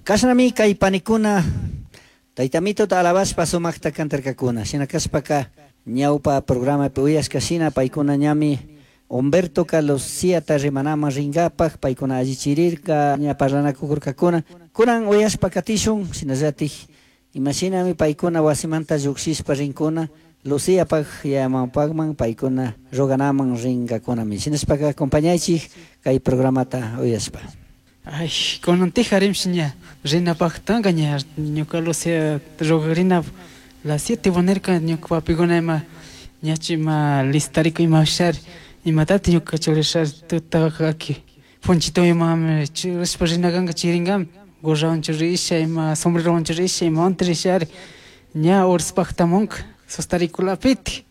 Kashnami kay panikuna Tayta Mitota alabashpa sumaqta cantarkakuna. Shina kashpaka ñawpa programapi uyashka shina paykuna ñami Humbertoka Luciata rimanaman rinkapak paykuna allichirirka ña parlanakukurkakuna. Kunan uyashpa katishun shinallatik imashinami paykuna wasimanta llukshishpa rinkuna Luciapak yayamapakman paykuna roganaman rinkakunami. Shinashpaka acompañaychik kay programata uyashpa. Ay, kunantika rimshi ña rinapaktanka ña ñuka Lucia rogarina las 7 nirka ñuka papikuna ima ñachu ima listariko ima shari imatati ñuka churashari tutaka aki punchito ima churashpa rinakanka chirinkami gorrawan churisha ima sombrerowan churisha imawanti rishari ña uraspaktamunka sustarikulapiti.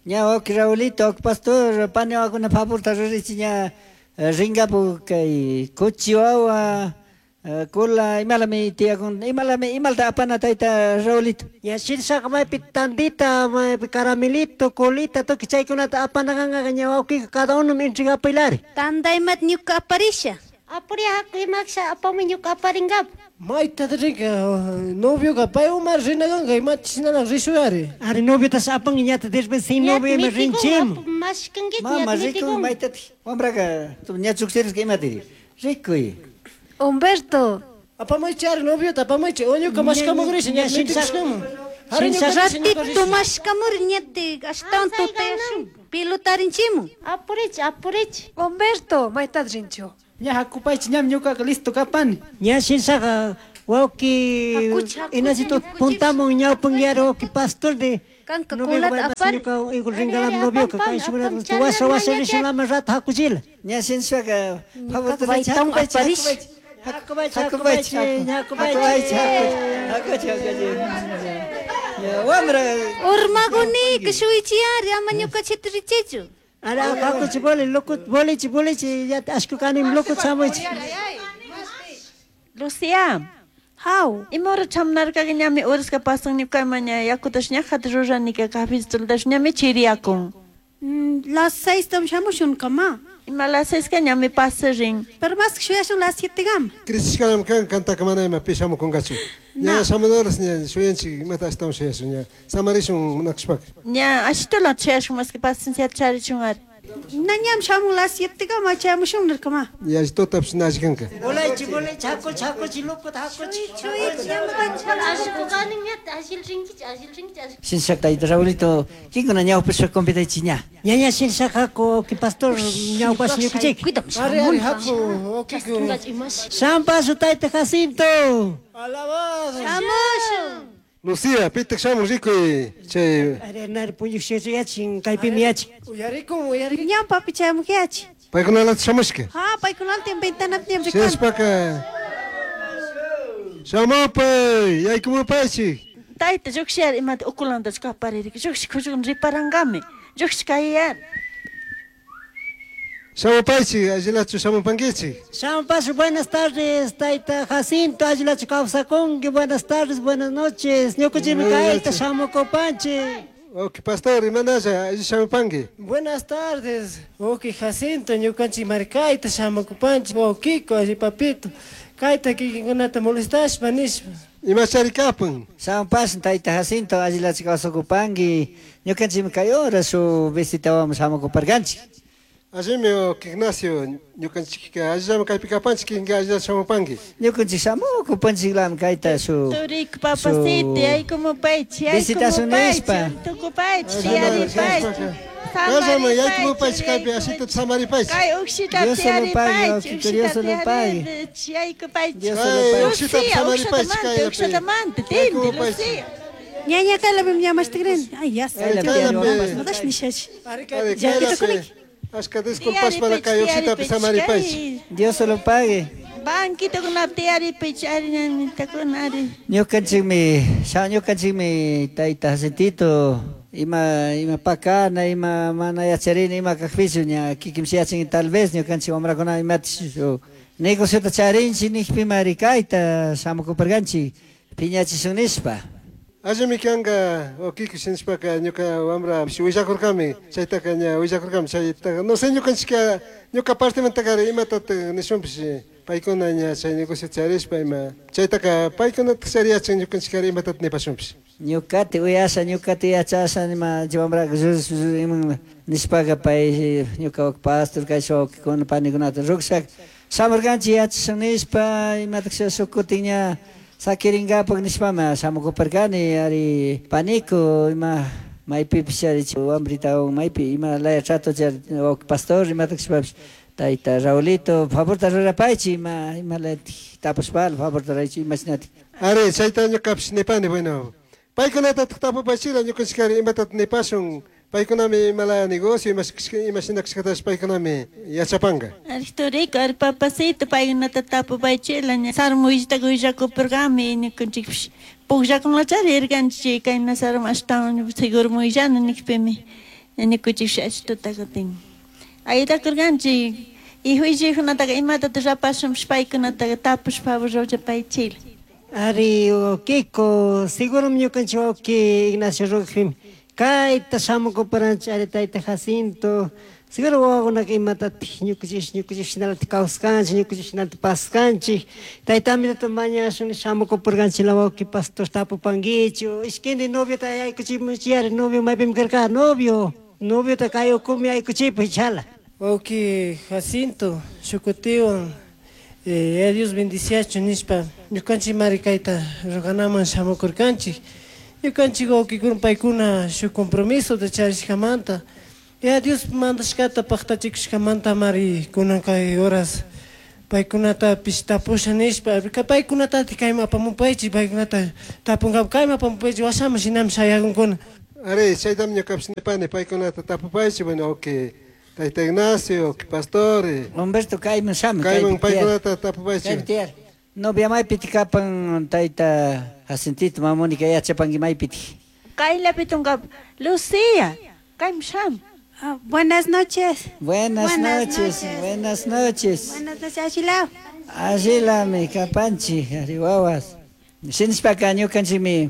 Ña wawki Raulito, wawki pastor, pani wawakuna favorta rurichi ña rinkapu kay kuchi wawa kula imalami tiyakun imalami imalta apana tayta Raulito. Ña shirshaqa maypi tandita, maypi caramelito, colita, tukuy chaykunata apana kanqa ña wawkika cada uno entregapilari. Tanda imata ñuka aparisha. Apuri haku imaksha apamuy ñuka aparinkapa. Mayta rinka novioka paywan rinakanka imata shinalak rishuyari. Ari noviotash apan ñata después sin novio ima rinchim. Mashkankichu Mama rikuy maytatik wambraka ña chukchirishka imatiri rikuy. Humberto. Apamuychi ari noviota apamuychi o ñuka mashkamukrisha ña mitikushkaman. Ratito mashkamuri ñatik ashtawan tutayashun pilotarinchimun. Apurichi apurichi. Humberto, maytat rinchu. Ña hakupaychi ñami ñukaka listo kapani. Ña shinshaqa wawki Inacito puntamun ñawpanguiari wawki pastor de Kanka kulata apari. ñuka igual rinkalam novioka kay shukuna washa washa rishalama rato hakuchila. Ña shinshpaka favorta baytawan aparish. Hakupaychi hakupaychi hakupaychi. Hakuchi hakuchi. Wamra. Urmagunika shuychiyari ama ñukachita richichu. Ara hakuchi boli lokut bolichi bolichi ya ashku kanim lokut samuchi. Lucia. How? Ima hora chamunarkaka ñami uraska pasan ñukama ña yakutash ñajata ruranika cafecitotash ñami chiriyakun. Las 6 tam shamushun kama. Ima las 6 ka ñami pasarin. Pero más shuyashun las 7 gam. Crisishkanami kan kantaka mana ima pi shamukunkachu. Ña shamunaras ña shuyanchik imata ashtawan shuyashun ña samarishun munakshpaka. Ña ashitula shuyashun más que paciencia charichun ari. Na ñam shamun las 7 gam chamushun nirkama. Yallitotapish na alli kanka. Bolaychi bolaychi hakuchi hakuchi lokut hakuchi. Ashku kanin ñata ashil rinkichi ashil rinkichi ashil. Shinshak tayta Raulito, kinkuna ñawpashpa convidaychi ña. Ña ña shinshaqa haku wawki pastor ñawpash ñukuchik. Ari ari haku wawkiko. Shampasu tayta Jacinto. Alabado. Shamushun. Lucia, pitak shamun rikuy chay Ari nari puñuk yachin kaypimi yachin. Uyarikun uyarikun. Ñam papi chayamuq yachi. Paykunalata shamushka. Ha paykunalata ventanapim rikan. Shinashpaka shamupay yaykumupaychik. Tayta llukshiyari imata ukulantachu kaparirika llukshi kuchukun riparankami llukshi kayari. Shamupaychik allilachu shamupankichik. Shampasu buenas tardes tayta Jacinto allilachu kawsakunki buenas tardes buenas noches ñukuchimi kayta shamukupanchik. Wawki pastor imanalla alli shamupanki. Buenas tardes, wawki Jacinto, ñukanchik markayta shamukupanchik, wawkiko, alli papito, kayta kikinkunata molestashpa nishpa. Imachari kapun. Shamupash tayta Jacinto allilachu kawsakupanki ñukanchikmi kay hora shu visitawaman shamukuparkanchik. Allimi wawki Ignacio ñukanchikka allillami kaypi kapanchik kinka allillata shamupanki. Ñukanchik shamukupanchiklami kayta shu Turiko papacito yaykumupaychi Visitasun nishpa. yaykumupaychi tukupaychi tiyaripaychi. Kallama yaykumupaychik kaypi ashita samaripaychik. Kay ukshita Dios se lo pague, tiyaripaychi wawkito, Dios ukshita se lo pague. tiyaripaychi yaykupaychi. Dios se lo Kay pague. ukshita Lucía, samaripaychik ukshatamanta kaypi. ukshatamanta tindi Yaykumupaychik. Lucía. Ña ña kaylapim ña mashtikrin. Ay ya. Kaylapi Kaylapi. Madash nishachi. Ari Ari Llakita kaylapi. kunik. Ashka disculpashpara kay ukshitapi samaripaychik. Dios se lo pague. Banquitokunapi tiyaripaychi ari ñañitakuna ari. Ñukanchikmi, ñukanchikmi tayta Jacintito ima ima pakana, ima mana yacharina, ima kakpichu ña kikinshi yachin tal vez ñukanchik wamrakuna imatish shu negociota charinchik nikpima kayta shamukuparkanchik piñachishun nishpa. Allimi kanka wawkiko shinashpaka ñuka wambra willakurkami chaytaka ña willakurkami chaytaka no sé ñukanchika ñuka partemantakari imatatak nishunpish. Paykuna ña chay negocio charishpa ima chaytaqa paykunata chariyachin ñukanchik imatata nipashunpish. Ñuqati uyasha ñuqati yachasha nima wambraka iman nishpaka pay ñuka pastor kay wawqikuna panikunata rukshak shamurkanchik yachashun nishpa imatak shuk kutin ña sakirinkapak nishpama shamukuparkani ari paniku ima maypipish ari wambritawan maypi ima laya trato chari wawqi pastor imatak shpapish tayta Raulito favorta rurapaychik ima ima layatik tapushpala favorta ruraychik imashinatik. Ari chayta ñukapish nipani bueno paykunatataq tapupaychikla ñukanchik ari imatata nipashun paykunami imalaya negocio imashina kashkatash paykunami yachapanka. Ari turiko, ari papacito paykunata tapupaychikla ña sarmuyllitaka willakupurkami ñukanchikpish pukllakunlachari rirkanchik kayna sarma ashtawan seguro muyllana nikpimi ñukanchikpish achituta kutin ayudakurkanchik y huillikunataka imatata rapashunpish paykunataka tapush favor rurapaychikla. Ari wawkiko, seguro ñukanchik wawki Ignacio rukpimi kayta shamukuparanchik ari tayta Jacinto seguro wawakunaka imatatik ñukanchik ñukanchik shinalatik kawskanchik ñukanchik shinalatik paskanchik tayta Amitota mañashun shamukupurkanchik la wawki pastor tapupankichik ishkindi noviota yaykuchimunchik ari novio maypimi karka novio noviota kay ukumi yaykuchipak chala. Wawki Jacinto shukutiwan Dios bendiciachu nishpa ñukanchik mari kayta ruganaman shamukurkanchik ñukanchik wawkikuna paykuna shuk compromisota charishkamanta ya Dios mandashkata paktachikushkamanta mari kunan kay horas paykunatapish tapusha nishpa paykunatatik kayman apamupaychik paykunata tapunkapak kayman apamupaychik washaman shinami shayakunkuna. Ari chaytami ñukapish nipani paykunata tapupaychik bueno okay tayta Ignacio, pastor. Humberto kayman shamuy. Kayman paykunata tapupaychik. Novia maypitik kapan tayta Jacintito mama Mónica yachapanki maypitik. Kaylapitunka Lucía, kayman shamuy. Buenas noches. Buenas noches, buenas noches. Buenas noches, Ashila. Ashilami kapanchik, ari wawas. Shinishpaka ñukanchikmi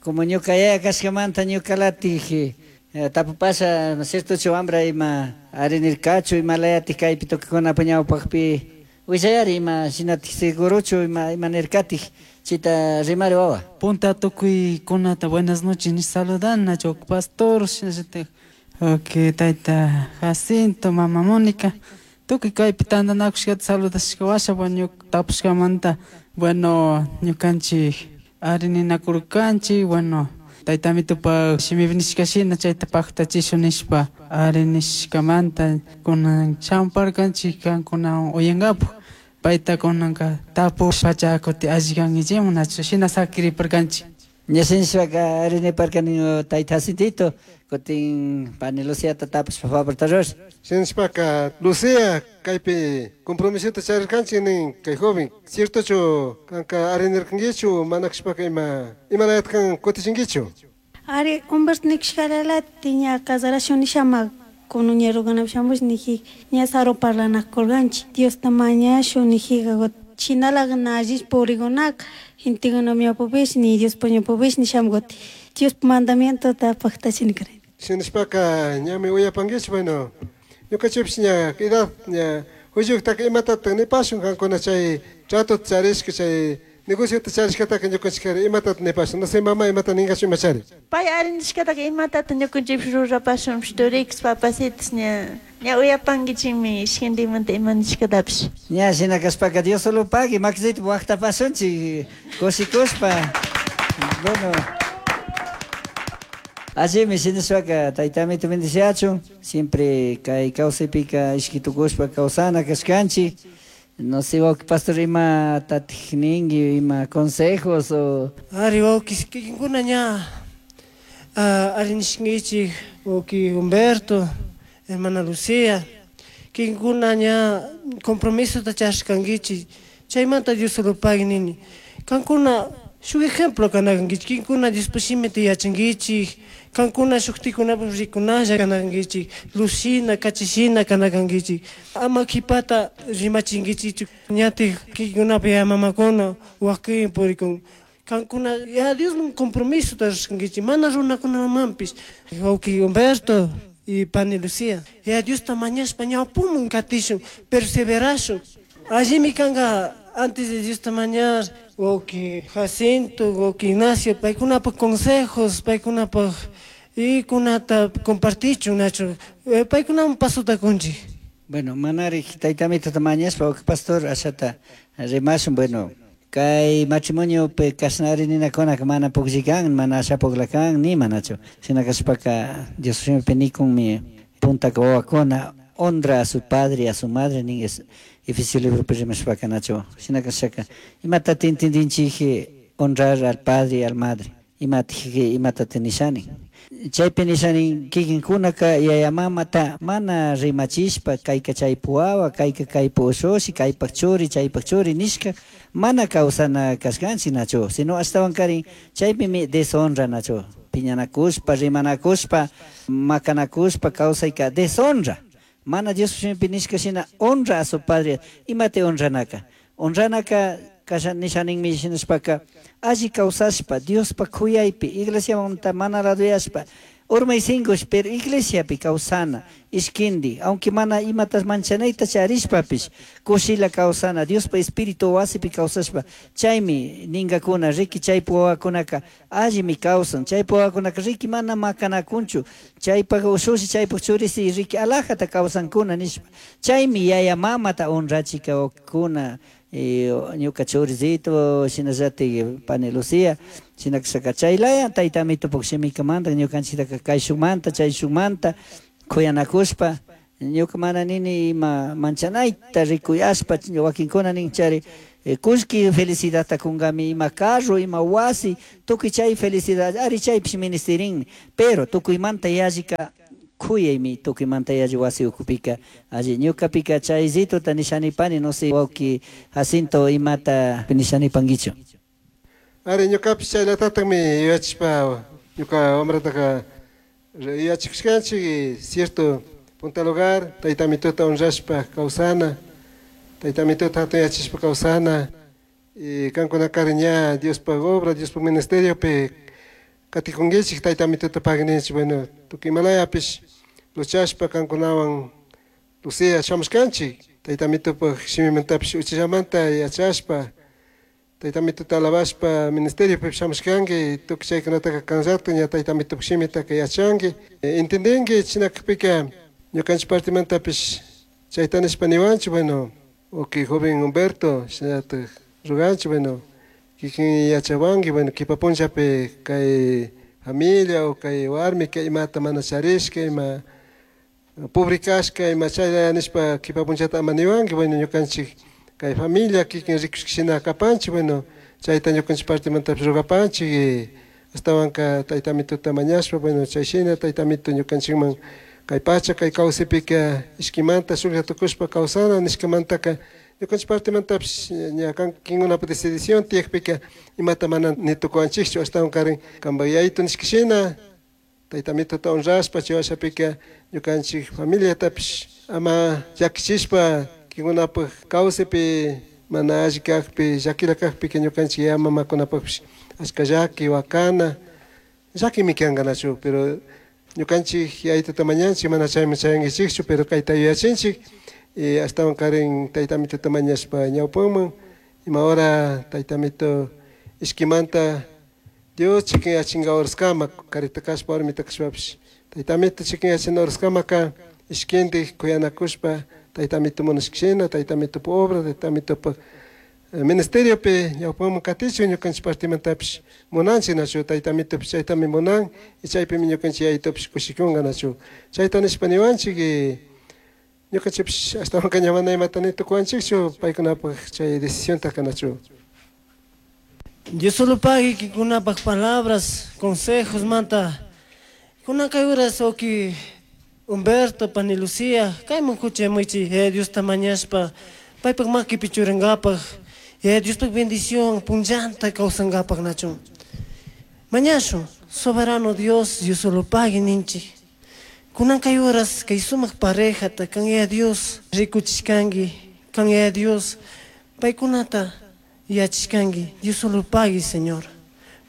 como ñuka yaya kashkamanta ñukalatik tapupasha, ¿no es cierto, wambra ima arinirkachu ima layatik kaypi tukukunapa ñawpaqpi willayari ima shinatik segurochu ima ima nirkatik chita rimari wawa. Punta tukuykunata buenas noches ni saludana chok pastor shinallatak okay tayta Jacinto mama Mónica tukuy kaypi tantanakushkata saludashka washa bueno tapushkamanta bueno ñukanchik arininakurkanchik bueno tayta Amitopak shimipi nishka shina chayta paktachishun nishpa ari nishkamanta kunan shamparkanchik kankunawan uyankapak payta kunanka tapushpacha kuti alli kankichikman nachu shina sakiriparkanchik. Ña shinashpaka ari niparkani tayta Jacintito kutin pani Luciata tapushpa favorta rurash. Shinashpaka Lucía kaypi compromisota charirkanchik nin kay joven ciertochu kanka arinirkankichu mana kashpaka ima imalayata kan kutichinkichu. Ari Humberto nikishkaralati ña casarashun nishama kunan ña ruganapi shamush niji ña saro parlanakurkanchik Diosta mañashun nijika shinalaka na allish purikunaka gentekuna ñawpapish ni Diospa ñawpapish nishamkuti Diospa mandamientota paktachini karani. Shinashpaka ñami uyapankichik bueno ñukanchikpish ña edad ña huyuktaka imatataq nipashun kankuna chay tratota charishka chay negociota charishkataka ñukanchik imatata nipashun no sé mama imata ninkachu imachari. Pay arinishkataka imatata ñukanchikpish rurapashunpish turikus papacitos ña ña uyapankichikmi ishkantikmanta ima nishkatapish. Ña shina kashpaka Dios solo pagui makisita waqtapashunchik kushikushpa bueno. Allimi shinashpaka tayta Amito bendiciachun siempre kay kawsaypika ishkitukushpa kawsana kashkanchik. No sé, wawki pastor ima tatik ninki ima consejos o Ari wawki kikinkuna ña arinishkinkichik wawki Humberto, hermana Lucía, kikinkuna ña compromisota charishkankichik chaymanta Dios solo pagui nini kankuna shuk ejemplo kanakankichik kikinkuna Diospa shimita yachankichik kankuna shuktikunapak rikunalla kanakankichik lushina kachishina kanakankichik ama kipata rimachinkichikchu ñatik kikinkunapak yaya mamakuna wakin purikun kankuna ya Diosman compromisota rurashkankichik mana runakunamanpish wawki Humberto y pani Lucía ya Diosta mañashpa ñawpuman katishun perseverashun. Allimi kanka antes de Diosta mañar, wawqi Jacinto, wawqi Ignacio, paykunapaq consejos, paykunapaq y kunata compartichun nachu, paykunaman pasota kunchik. Bueno, manarik taytamitota mañashpa wawqi pastor ashata rimashun, bueno, kay matrimoniopi kashnari ninakunaka mana pukllikan, mana asha pukllakan, ni manachu. Shina kashpaka Dios shimipi nikunmi puntaka wawakuna honra a su padre y a su madre nin es Efesios libropi rimashpaka nachu. Shina kashaka imatata entendinchik honrar al padre y al madre, imatij imatata nishani. Chaypi nishani kikinkunaka yaya mamata mana rimachishpa kayka chaypi wawa, kayka kaypi ushushi, kaypak churi, chaypak churi nishka mana kawsana kashkanchik nachu, sino ashtawankarin chaypimi deshonra nachu, piñanakushpa, rimanakushpa, makanakushpa kawsayka deshonra. Mana Dios shimipi nishka shina honra a su padre, imate honranaka. Honranaka kasha nishaninmi shinashpaka alli kawsashpa Diospa kuyaypi iglesiamanta mana raduyashpa urmaysinkush pero iglesiapi kawsana ishkindi, aunque mana imatas manchanayta charishpapish kushila kawsana Diospa espíritu wasipi kawsashpa chaymi ninkakuna riki chaypi wawakunaka allimi kawsan, chaypi wawakunaka riki mana makanakunchu, chaypak ushushi chaypak churisi riki alajata kawsankuna nishpa chaymi yaya mamata honrachika wawakuna. Ñuka churisito shinallatik pani Lucía shinakashaka chaylaya taytamito shimikamanta ñukanchiktaka kayshukmanta chayshukmanta kuyanakushpa ñuka mana nini ima manchanayta rikuyashpa wakinkuna nin chari kullki felicidadta kunkami ima carro ima wasi tukuy chay felicidad ari chaypish ministerinmi pero tukuymanta yallika kuyaymi tukuymanta yalli wasi ukupika alli ñukapika chaysituta nishanipani no sé wawqi Jacinto imata nishanipankichu. Ari ñukapish chayllatataqmi yuyachishpa ñuka wamrataka yuyachikushkanchik cierto punta lugar taytamituta honrashpa kawsana taytamituta hatun kawsana y kankunakari ña Diospaq obra Diospaq ministeriopi katikunkichik taytamituta pagninchik bueno tukuy imalayapish luchashpa kankunawan Lucía shamushkanchik taytamitupaq shimimantapish uchillamanta yachashpa taytamituta alabashpa ministeriopi shamushkanki tukuy chaykunataka kanllata ña taytamitupaq shimitaka yachanki entendinki chinakpika ñukanchik partemantapish chayta nishpa niwanchik bueno wawqi joven Humberto shinallatak ruganchik bueno kikin yachawanki bueno kipa punllapi kay familia o kay warmi kay imata mana charishka ima pobre kashka ima chaylla nishpa kipa punllata ama niwanki bueno ñukanchik kay familia kikin rikushka shina kapanchik bueno chayta ñukanchik partemantapish rugapanchik ashtawanka taytamituta mañashpa bueno chay shina taytamitu ñukanchikman kay pacha kay kawsaypika ishkimanta shuklla tukushpa kawsana nishkamantaka ñukanchik partemantapish ña kikinkunapa decisión tiyakpika imata mana nitukuwanchikchu ashtawankarin kanpak yayitu nishka shina taytamituta honrashpa chay washapika ñukanchik familiatapish ama llakichishpa kikinkunapaq kawsaypi mana alli kakpi llakilla kakpika ñukanchik yaya mamakunapakpish ashka llaki wakana llakimi kankanachu pero ñukanchik yayituta mañanchik mana chayman chayankichikchu pero kayta yuyachinchik y ashtawankarin taytamituta mañashpa ñawpanman ima hora taytamito ishkimanta Dios chikinyachinka horaskama karita kashpa warmita kashpapish taytamito chikinyachina horaskamaka ishkindik kuyanakushpa taytamito munashkashina taytamitupa obra taytamitupa ministeriopi ñawpanman katichun ñukanchik partemantapish munanchik nachu taytamitupish chaytami munan y chaypimi ñukanchik yayitupish kushikunka nachu chayta nishpa niwanchik y ñukanchikpish ashtawanka ña mana imata nitukuwanchikchu paykunapaq chay decisiontaka nachu. Dios solo pague kikunapaq palabras, consejos manta. Kunan kay horas wawqi Humberto, pani Lucía, kayman kuchamuichik Diosta mañashpa paypak makipi churankapaq Diospaq bendición punllanta kawsankapaq nachun. Mañashun, soberano Dios, Dios solo pague ninchik. Kunan kay horas kay sumaq parejata kan ya Dios rikuchishkanki, kan ya Dios paykunata yachishkanki, Dios solo pague, Señor.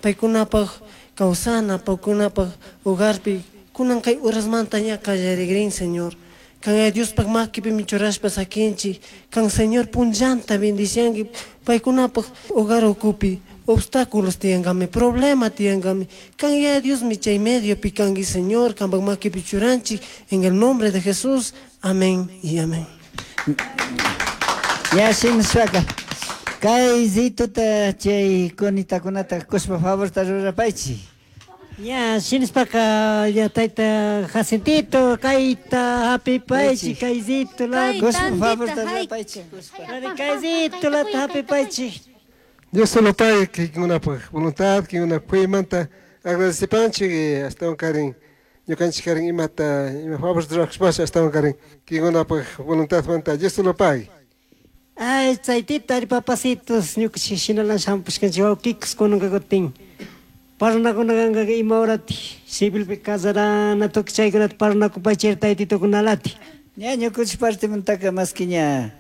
Paykunapaq kawsana, paykunapaq hogarpi kunan kay horasmanta ña qallarikrin, Señor. Kan Yaya Diospaj makipimi churashpa sakinchik. Kan Señor punllanta bendicianki paykunapaj hogar ukupi obstáculos tiyankami, problema tiyankami. Kan Yaya Diosmi chay mediopi kanki Señor, kanpak makipi churanchik en el nombre de Jesús. Amén y amén. Ya shinashpaka kay zituta chay kunitakunata kushpa favorta rurapaychik. Ya, shinashpaka ya tayta Jacintito, kayta hapipaychik, kayzito la Kushpa favorta rurapaychik. Kayzito lata hapipaychik. Dios solo pague kikinkunapaj voluntad, kikinkunapaj kuymanta agradecipanchik y ashtawan karin ñukanchik karin imata ima favor rurashpash ashtawan karin kikinkunapaj voluntadmanta Dios solo pague. Ay, chaytita ari papacitos, ñukanchik shinalan shampushkanchik wawkikus kunanka kutin. Parlanakunakanka ima horati civilpi casarana tukuy chaykunata parlanakupaychik taytitukunalati. Ña ñukanchik partimantaka maski ña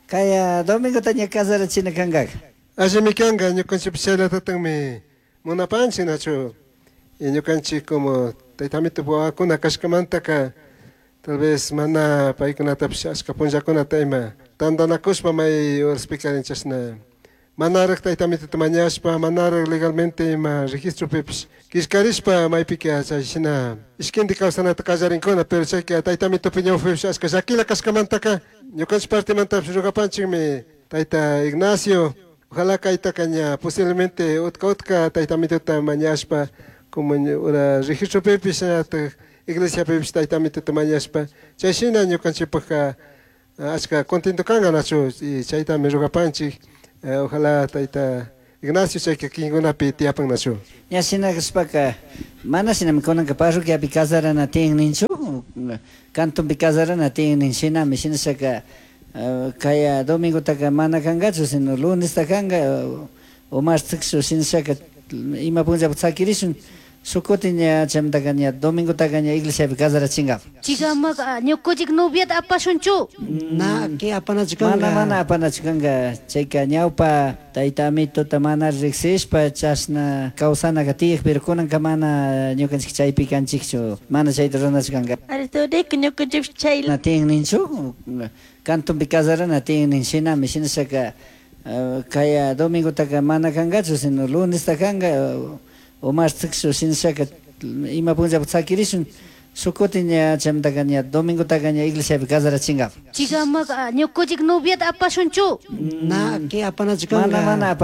kaya domingota ña casarachina kankaka. Allimi kanka ñukanchikpish chayllatatakmi munapanchik nachu y ñukanchik como tayta amito wawakuna kashkamantaka tal vez mana paykunatapish ashka punllakunata ima tantanakushpa may horaspika chashna manaraj tayta amitota mañashpa manaraj legalmente ima registropipish killkarishpa maypika chay shina ishkinti kawsanata qallarinkuna pero chayka tayta amitopi ñawpipish ashka llakila kashkamantaka ñukanchik partemantapish rugapanchikmi tayta Ignacio ojalá kaytaka ña posiblemente utka utka tayta amitota mañashpa como ura registropipish shinallatak iglesiapipish tayta amitota mañashpa chay shina ñukanchikpajka ashka contento kanka nachu y chaytami rugapanchik. Ojalá tayta Ignacio chayka kikinkunapi tiyapan nachu. Ña shina kashpaka mana shinami kunanka parroquiapi casarana tiyan ninchu, cantonpi casarana tiyan nin shinami shinashaka kaya domingotaka mana kankachu sino lunesta kanka o marteschu shinashaka ima punllapi sakirishun shukutin ña chaymantaka ña domingotaka ña iglesiapi casarachinkapak. Chikamaka ñukunchik noviata apashunchu. Na, ki apanachu kanka. Mana, mana apanachu kanka. Chayka ñawpa tayta amitota mana riksishpa chashna kawsanaka tiyaq, pero kunanka mana ñukanchik chaypi kanchikchu, mana chayta ruranachu kanka. Ari turika ñukanchikpish chay Na tiyan ninchu, cantonpi casarana tiyan nin shinami shinashaka kaya domingotaka mana kankachu sino lunesta kanka o marteschu shinashaka ima punllapi sakirishun shukutin ña chaymantaka ña domingotaka ña iglesiapi casarachinkapak. Chikamaka ñukunchik noviata apashunchu. Na, ki apanachu kanka. Mana, mana apanachu.